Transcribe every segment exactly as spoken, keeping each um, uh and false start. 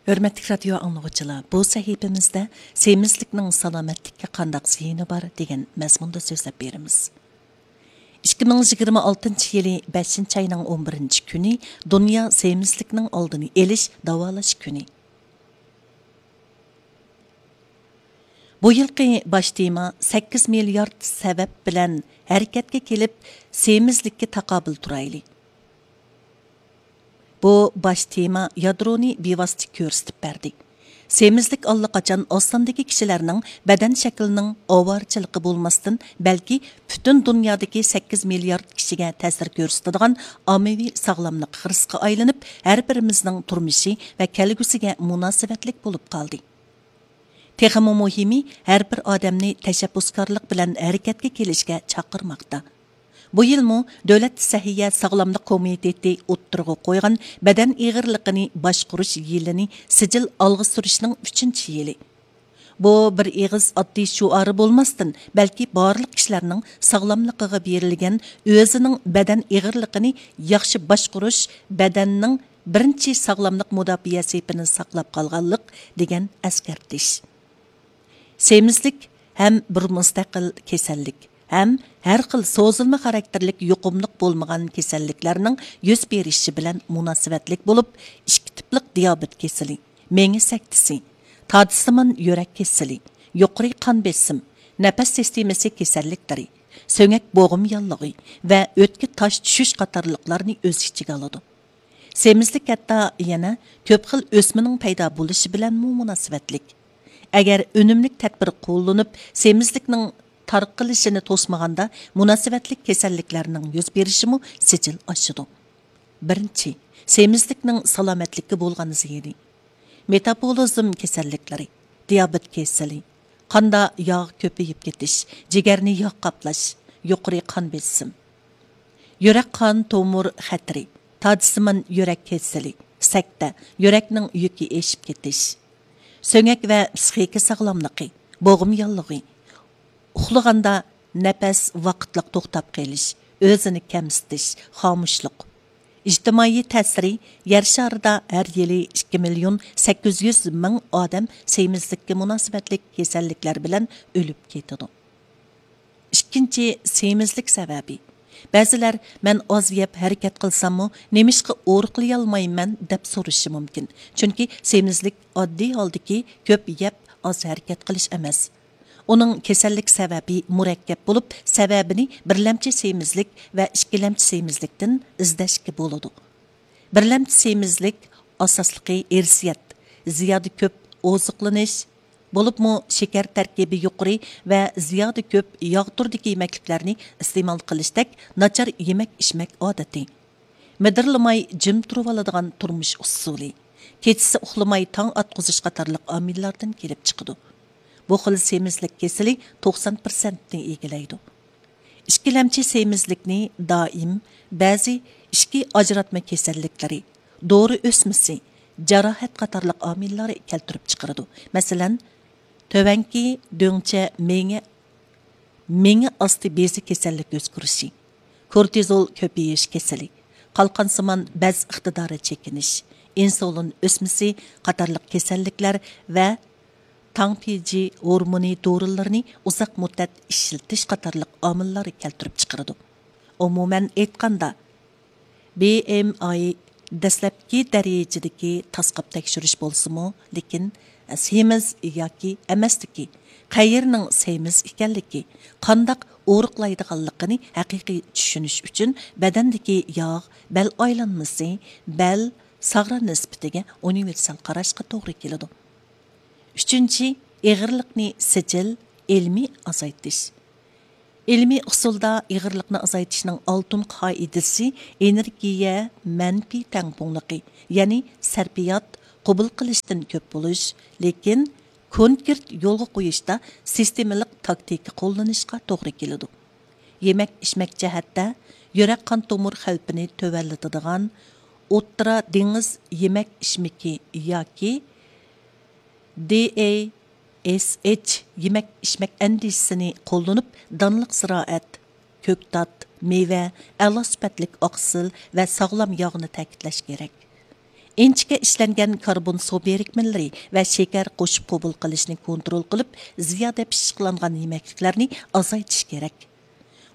ھۆرمەتلىك رادىيو ئاڭلىغۇچىلار، بۇ سەھىپىمىزدە سېمىزلىكنىڭ سالامەتلىككە قانداق زىيىنى بار دېگەن مەزمۇندا سۆزلەپ بېرىمىز. ئىككى مىڭ يىگىرمە ئالتىنچى يىلى بەشىنچى ئاينىڭ ئون بىرىنچى كۈنى دۇنيا سېمىزلىكنىڭ ئالدىنى ئېلىش، داۋالاش كۈنى. بۇ يىلقى باش تېما «سەككىز مىليارد سەۋەب بىلەن ھەرىكەتكە كېلىپ، سېمىزلىككە تاقابىل تۇرايلى». بۇ باش تېما يادرونى بىۋاسىتە كۆرسىتىپ بەردى. سېمىزلىك ئاللىقاچان ئاز ساندىكى كىشىلەرنىڭ بەدەن شەكلىنىڭ ئاۋارىچىلىقى بولماستىن، بەلكى پۈتۈن دۇنيادىكى سەككىز مىليارد كىشىگە تەسىر كۆرسىتىدىغان ئاممىۋى ساغلاملىق خىرىسقا ئايلىنىپ، ھەر بىرىمىزنىڭ تۇرمۇشى ۋە كەلگۈسىگە مۇناسىۋەتلىك بولۇپ قالدى. تېخىمۇ مۇھىمى، ھەر بىر ئادەمنى تەشەببۇسكارلىق بىلەن ھەرىكەتكە كېلىشكە چاقىرماقتا. بۇ يىلمۇ دۆلەت سەھىيە ساغلاملىق كومىتېتى ئوتتۇرىغا قويغان بەدەن ئېغىرلىقىنى باشقۇرۇش يىلىنى سىجىل ئالغا سۈرۈشنىڭ ئۈچىنچى يىلى. بۇ بىر ئېغىز ئاددىي شوئارى بولماستىن، بەلكى بارلىق كىشىلەرنىڭ ساغلاملىقىغا بېرىلگەن ئۆزىنىڭ بەدەن ئېغىرلىقىنى ياخشى باشقۇرۇش، بەدەننىڭ بىرىنچى ساغلاملىق مۇداپىئە سېپىنى ساقلاپ قالغانلىق دېگەن ئەسكەرتىش. سېمىزلىك ھەم بىر مۇستەقىل كېسەللىك، ھەم ھەر خىل سوزۇلما خاراكتېرلىك يۇقۇملۇق بولمىغان كېسەللىكلەرنىڭ يۈز بېرىشى بىلەن مۇناسىۋەتلىك بولۇپ، ئىككى تىپلىق دىيابېت كېسىلى، مېڭە سەكتىسى، تادىسىمان يۈرەك كېسىلى، يۇقىرى قان بېسىم، نەپەس سىستېمىسى كېسەللىكلىرى، سۆڭەك بوغۇم ياللۇغى ۋە ئۆتكە تاش چۈشۈش قاتارلىقلارنى ئۆز ئىچىگە ئالىدۇ. سېمىزلىك ھەتتا يەنە كۆپ خىل ئۆسمىنىڭ پەيدا بولۇشى بىلەنمۇ مۇناسىۋەتلىك. ئەگەر ئۈنۈملۈك تەدبىر قوللىنىپ، سېمىزلىكنىڭ تارقىلىشىنى توسمىغاندا، مۇناسىۋەتلىك كېسەللىكلەرنىڭ يۈز بېرىشىمۇ سىجىل ئاشىدۇ. بىرىنچى، سېمىزلىكنىڭ سالامەتلىككە بولغان زىيىنى. مېتابولىزم كېسەللىكلىرى، دىيابېت كېسىلى، قاندا ياغ كۆپىيىپ كېتىش، جىگەرنى ياغ قاپلاش، يۇقىرى قان بېسىم، يۈرەك قان تومۇر خەتىرى، تادىسىمان يۈرەك كېسىلى، سەكتە، يۈرەكنىڭ يۈكى ئېشىپ كېتىش، سۆڭەك ۋە پىسخىكا ساغلاملىقى، بوغۇم ياللۇغى، ئۇخلىغاندا نەپەس ۋاقىتلىق توختاپ قېلىش، ئۆزىنى كەمسىتىش، خامۇشلۇق. ئىجتىمائىي تەسىرى، يەر شارىدا ھەر يىلى ئىككى مىليون سەككىز يۈز مىڭ ئادەم سېمىزلىككە مۇناسىۋەتلىك كېسەللىكلەر بىلەن ئۆلۈپ كېتىدۇ. ئىككىنچى، سېمىزلىك سەۋەبى. بەزىلەر، «مەن ئاز يەپ ھەرىكەت قىلساممۇ، نېمىشقا ئورۇقلىيالمايمەن؟» دەپ سورىشى مۇمكىن. چۈنكى سېمىزلىك ئاددىي ھالدىكى كۆپ يەپ، ئاز ھەرىكەت قىلىش ئەمەس. ئۇنىڭ كېسەللىك سەۋەبى مۇرەككەپ بولۇپ، سەۋەبىنى بىرلەمچى سېمىزلىك ۋە ئىككىلەمچى سېمىزلىكتىن ئىزدەشكە بولىدۇ. بىرلەمچى سېمىزلىك ئاساسلىقى ئىرسىيەت، زىيادە كۆپ ئوزۇقلىنىش، بولۇپمۇ شېكەر تەركىبى يۇقىرى ۋە زىيادە كۆپ ياغ تۈرىدىكى يېمەكلىكلەرنى ئىستېمال قىلىشتەك ناچار يېمەك ئىچمەك ئادىتى، مىدىرلىماي جىم تۇرۇۋالىدىغان تۇرمۇش ئۇسۇلى، كېچىسى ئۇخلىماي تاڭ ئاتقۇزۇش قاتارلىق ئامىللاردىن كېلىپ چىقىدۇ. بۇ خىل سېمىزلىك كېسىلى توقسان پىرسەنتنى ئىگىلەيدۇ. ئىككىلەمچى سېمىزلىكنى دائىم بەزى ئىچكى ئاجراتما كېسەللىكلىرى، دورا ئۆسمىسى، جاراھەت قاتارلىق ئامىللار كەلتۈرۈپ چىقىرىدۇ. مەسىلەن، تۆۋەنكى دۆڭچە مېڭە، مېڭە ئاستى بېزى كېسەللىك ئۆسكۈرۈشى، كورتىزول كۆپىيىش كېسىلى، قالقانسىمان بەز ئىقتىدارى چېكىنىش، ئىنسۇلىن ئۆسمىسى قاتارلىق كېسەللىكلەر ۋە تاڭ پېجى ھورمونى دورىلىرىنى ئۇزاق مۇددەت ئىشلىتىش قاتارلىق ئامىللار كەلتۈرۈپ چىقىرىدۇ. ئومۇمەن ئېيتقاندا، بى ئېم ئاي دەسلەپكى دەرىجىدىكى تاسقاپ تەكشۈرۈش بولسىمۇ، لېكىن سېمىز ياكى ئەمەسلىكى، قەيەرنىڭ سېمىز ئىكەنلىكى، قانداق ئورۇقلايدىغانلىقىنى ھەقىقىي چۈشىنىش ئۈچۈن بەدەندىكى ياغ، بەل ئايلانمىسى، بەل، ساغرا نىسبىتىگە ئۇنىۋېرسال قاراشقا توغرا كېلىدۇ. ئۈچىنچى، ئېغىرلىقنى سىجىل، ئىلمىي ئازايتىش. ئىلمىي ئۇسۇلدا ئېغىرلىقنى ئازايتىشنىڭ ئالتۇن قائىدىسى ئېنېرگىيە مەنپىي تەڭپۇڭلۇقى، يەنى سەرپىيات قوبۇل قىلىشتىن كۆپ بولۇش، لېكىن كونكرېت يولغا قويۇشتا سىستېمىلىق تاكتىكا قوللىنىشقا توغرا كېلىدۇ. يېمەك ئىچمەك جەھەتتە يۈرەك قان تومۇر خەۋپىنى تۆۋەنلىتىدىغان ئوتتۇرا دېڭىز يېمەك ئىچمىكى ياكى دى ئەي ئېس ئېچ يېمەك ئىچمەك ئەندىزىسىنى قوللىنىپ، دانلىق زىرائەت، كۆكتات، مېۋە، ئەلا سۈپەتلىك ئاقسىل ۋە ساغلام ياغنى تەكىتلەش كېرەك. ئىنچىكە ئىشلەنگەن كاربون سۇ بىرىكمىلىرى ۋە شېكەر قوشۇپ قوبۇل قىلىشنى كونترول قىلىپ، زىيادە پىششىقلانغان يېمەكلىكلەرنى ئازايتىش كېرەك.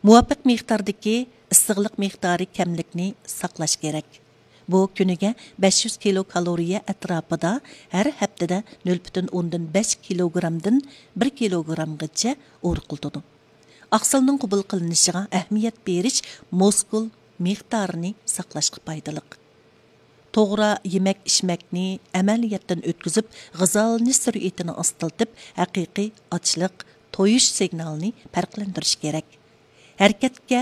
مۇۋاپىق مىقداردىكى ئىسسىقلىق مىقدارى كەملىكنى ساقلاش كېرەك. بۇ كۈنىگە بەش يۈز كىلو كالورىيە ئەتراپىدا، ھەر ھەپتىدە نۆل پۈتۈن ئوندىن بەش كىلوگرامدىن بىر كىلوگرامغىچە ئورۇقلىتىدۇ. ئاقسىلنىڭ قوبۇل قىلىنىشىغا ئەھمىيەت بېرىش مۇسكۇل مىقدارىنى ساقلاشقا پايدىلىق. توغرا يېمەك-ئىچمەكنى ئەمەلىيەتتىن ئۆتكۈزۈپ، غىزالىنىش سۈرئىتىنى ئاستىلىتىپ، ھەقىقىي ئاچلىق، تويۇش سىگنالىنى پەرقلەندۈرۈش كېرەك. ھەرىكەتكە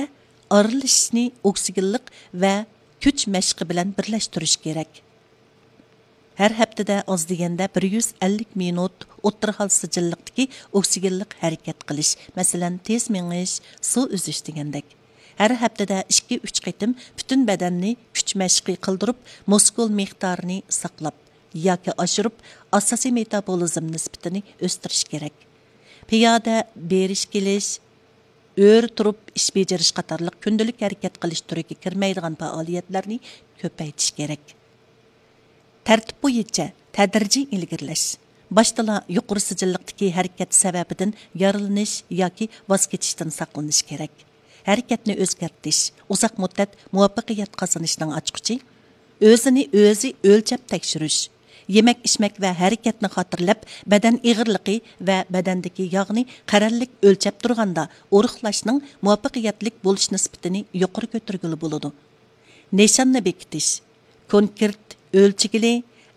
ئارىلىشىشنى ئوكسىگېنلىق ۋە كۈچ مەشقى بىلەن بىرلەشتۈرۈش كېرەك. ھەر ھەپتىدە ئاز دېگەندە بىر يۈز ئەللىك مىنۇت ئوتتۇرا ھال سىجىللىقتىكى ئوكسىگېنلىق ھەرىكەت قىلىش، مەسىلەن، تېز مېڭىش، سۇ ئۈزۈش دېگەندەك. ھەر ھەپتىدە ئىككى، ئۈچ قېتىم پۈتۈن بەدەننى كۈچ مەشقى قىلدۇرۇپ، مۇسكۇل مىقدارىنى ساقلاپ ياكى ئاشۇرۇپ، ئاساسىي مېتابولىزم نىسبىتىنى ئۆستۈرۈش كېرەك. پىيادە بېرىش كېلىش، ئۆرە تۇرۇپ ئىش بېجىرىش قاتارلىق كۈندىلىك ھەرىكەت قىلىش تۈرىگە كىرمەيدىغان پائالىيەتلەرنى كۆپەيتىش كېرەك. تەرتىپ بويىچە تەدرىجىي ئىلگىرىلەش. باشتىلا يۇقىرى سىجىللىقتىكى ھەرىكەت سەۋەبىدىن يارىلىنىش ياكى ۋاز كېچىشتىن ساقلىنىش كېرەك. ھەرىكەتنى ئۆزگەرتىش ئۇزاق مۇددەت مۇۋەپپەقىيەت قازىنىشنىڭ ئاچقۇچى. ئۆزىنى ئۆزى ئۆلچەپ تەكشۈرۈش. يېمەك-ئىچمەك ۋە ھەرىكەتنى خاتىرىلەپ، بەدەن ئېغىرلىقى ۋە بەدەندىكى ياغنى قەرەللىك ئۆلچەپ تۇرغاندا، ئورۇقلاشنىڭ مۇۋەپپەقىيەتلىك بولۇش نىسبىتىنى يۇقىرى كۆتۈرگىلى بولىدۇ. نىشاننى بېكىتىش. كونكرېت ئۆلچىگىلى،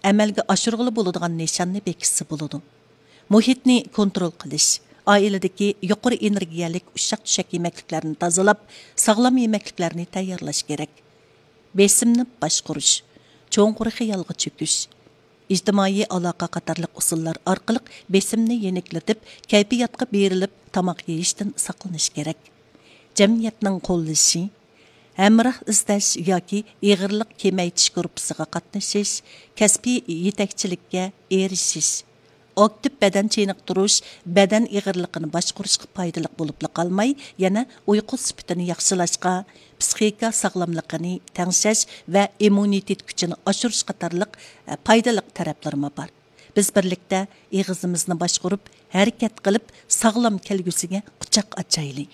ئەمەلگە ئاشۇرغىلى بولىدىغان نىشاننى بېكىتسە بولىدۇ. مۇھىتنى كونترول قىلىش. ئائىلىدىكى يۇقىرى ئېنېرگىيەلىك ئۇششاق-چۈششەك يېمەكلىكلەرنى تازىلاپ، ساغلام يېمەكلىكلەرنى تەييارلاش كېرەك. بېسىمنى باشقۇرۇش. چوڭقۇر خىيالغا چۆكۈش. ئىجتىمائىي ئالاقە قاتارلىق ئۇسۇللار ئارقىلىق بېسىمنى يېنىكلىتىپ، كەيپىياتقا بېرىلىپ، تاماق يېيىشتىن ساقلىنىش كېرەك. جەمئىيەتنىڭ قوللىشى، ھەمراھ ئىزدەش ياكى ئېغىرلىق كېمەيتىش گۇرۇپپىسىغا قاتنىشىش، كەسپىي يېتەكچىلىككە ئېرىشىش. ئاكتىپ بەدەن چېنىقتۇرۇش بەدەن ئېغىرلىقىنى باشقۇرۇشقا پايدىلىق بولۇپلا قالماي، يەنە ئۇيقۇ سۈپىتىنى ياخشىلاشقا، پىسخىكا ساغلاملىقىنى تەڭشەش ۋە ئىممۇنىتېت كۈچىنى ئاشۇرۇش قاتارلىق، ئە، پايدىلىق تەرەپلىرىمۇ بار. بىز بىرلىكتە ئېغىزىمىزنى باشقۇرۇپ، ھەرىكەت قىلىپ، ساغلام كەلگۈسىگە قۇچاق ئاچايلى.